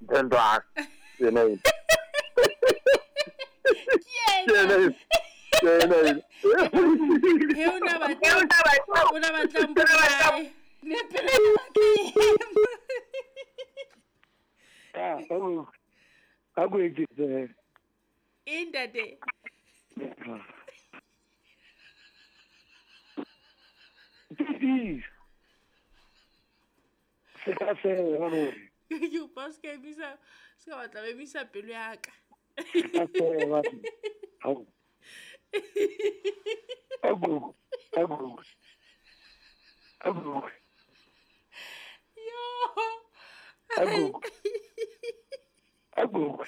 Ntho a yena e. Ke Yena yena. e. Yena e. He o na batla o na batla mpolae. Ne pele ke Ah, a ko etsetse. E ntate. Ke Se ka se hore. Ke upa se ka emisa se ka batla ba emisa pelo ya ka. Ka se ba. Hao. Ago. Ago. Ago. Yo. Ago. Ago.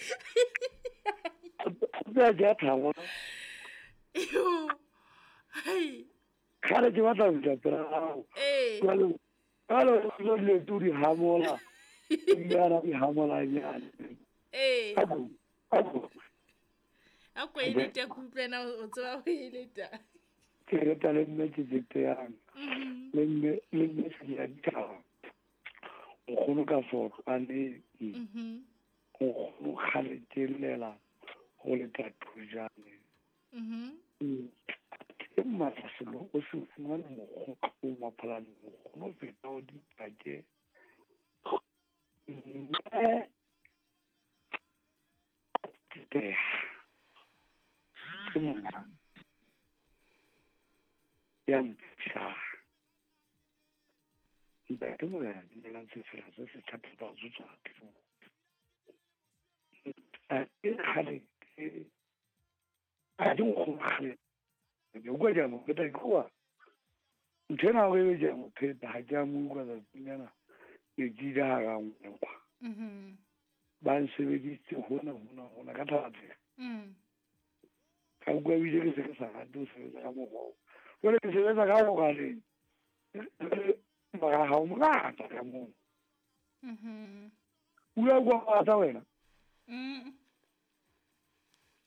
Ba ja thawo. Yo. Hai. Kgale ke batla ho tla pela hao. Eh. Jwale jwale o le tu di hamola. Nyana di hamola nyana. Eh. Ago. Ago. A ko e leta ke utlwe na o tseba ho e leta. Ke rata le mme ke jete yang. Le mme le mme se ya ditaba. Nkgono ka sotlwane. Nkgono kgale ke llela go leta thojane. Ke matla selo o se fumane mokgwa o maphalane nkgono o feta o dipake. Mme ke ke monna ya mpsha. Ntate Morena dumelang sefela se se thata ba tswa ke mo. A ke kgale ke a di nkgono kgale. Ke utlwa ke a mo pheta ke kwa. Ntho ena hore ebe ke a mo pheta ha ke a mo utlwa tsatsing lena ke ke ile hara nkwa. Ba nsebeditse hona hona hona ka thaba tsela. Ka utlwa ebile ke se ke sa rate ho sebetsa ka mokgwa oo. Jwale ke sebetsa ka mogaleng. Mara ha o mongata ka moo. O ile wa utlwa mongata wena?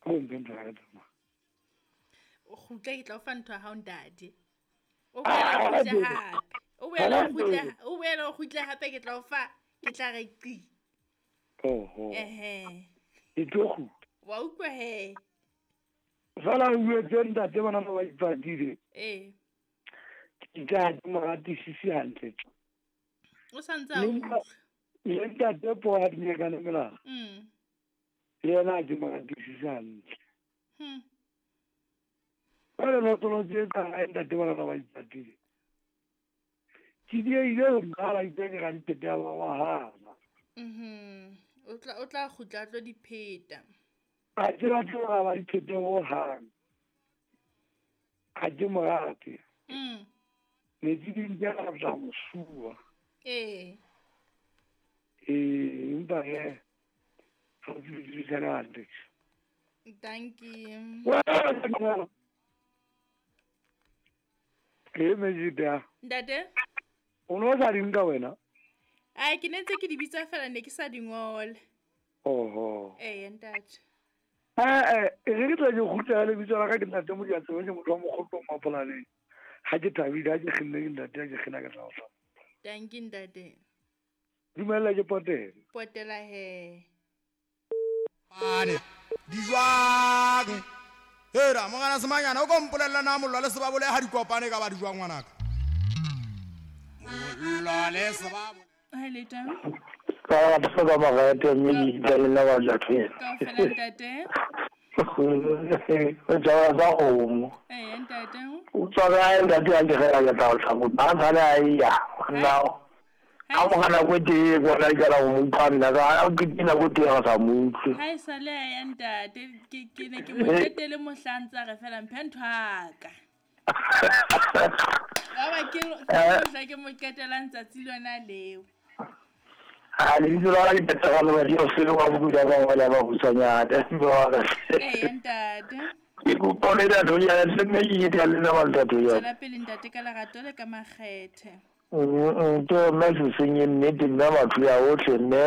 Ha o mphe ntho ya ka tsamaya. O kgutle ke tla o fa ntho ya hao ntate. O boela o kgutle hape. O boela o kgutle, o boela o kgutle hape ke tla o fa, ke tla re qi. Oho. Ehe. Ke tlo kgutla. Wa utlwa he. Fela o buetse ntate bana ba ba ipatile. Eh. Ke tla ke mo ratisise hantle. O sa ntse a utlwa. Le ntate po a dinyakane melala. Le yena ke mo ratisise hantle. Jwale lotolo tse tsa hae ntate bana ba ba ipatile. Ke diehile ho qala itse ke ra diphete ya ba wa hana. O tla kgutla a tlo di pheta. Ha ke batle ho ba diphete hohang. Ha ke mo rate. Metsi di nke a tla mo suwa. Eh. Eh, empa he ha ke dirisana hantle. Thank you. Ke mejita. Ntate? O no sa di nka wena? Ai, ke ne ntse ke di bitsa fela ne ke sa di ngole. Oho. Eh, ntate. Eh, e re ke tla ke kgutla le bitso la ka ke ntate Modiantsebe ke motho wa mokgotlo Mapholaneng. Ha ke thabile ha ke kgenne ke ntate ha ke kgena ke tla o tla. Thank you ntate. Dumela ke potela. Potela he. Pane di jwang? Hera mongana semanyana o ko mpolella na mollo le sebabole ha di kopane ka ba di jwang ngwanaka. Mollo le sebabole. Hi leta. Ka ba ba ba ga mme di le la ba ja tshwere. Ka fela ntate. O tswa ba go. Eh ntate. O tswa ga ntate a ke ga ya tla o tla mo ba tsana ai ya. Nna. Ha mo gana go te go la ke la mo utlwa nna ka ke dina go te ga sa mo utlwe. Ha e sa le ya ntate ke ne ke mo qetele mohlantsa re fela mphe ntho aka. Ba ke ke ke mo qetelang tsatsi lona leo. Ha le ditso la ke tsa ga le dio se wa buka ba wela ba busanyana. Eh ntate. Ke kopa le batho ya le mme ke ya le ba ntate ya. Tswela pele ntate ka lerato le ka makgethe. Ke mme se senye nnete nna batho ya otlhe mme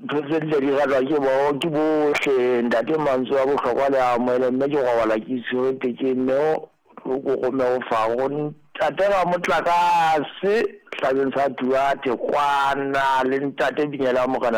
ntho tse di ratwa ke bo ke bohle ntate mantswe a bohlokwa le a amohele mme ke robala ke tshwere ke mme o ko go me o fa go ntate ba motlakase hlabeng sa Duarte kwana le ntate Binyela Morena.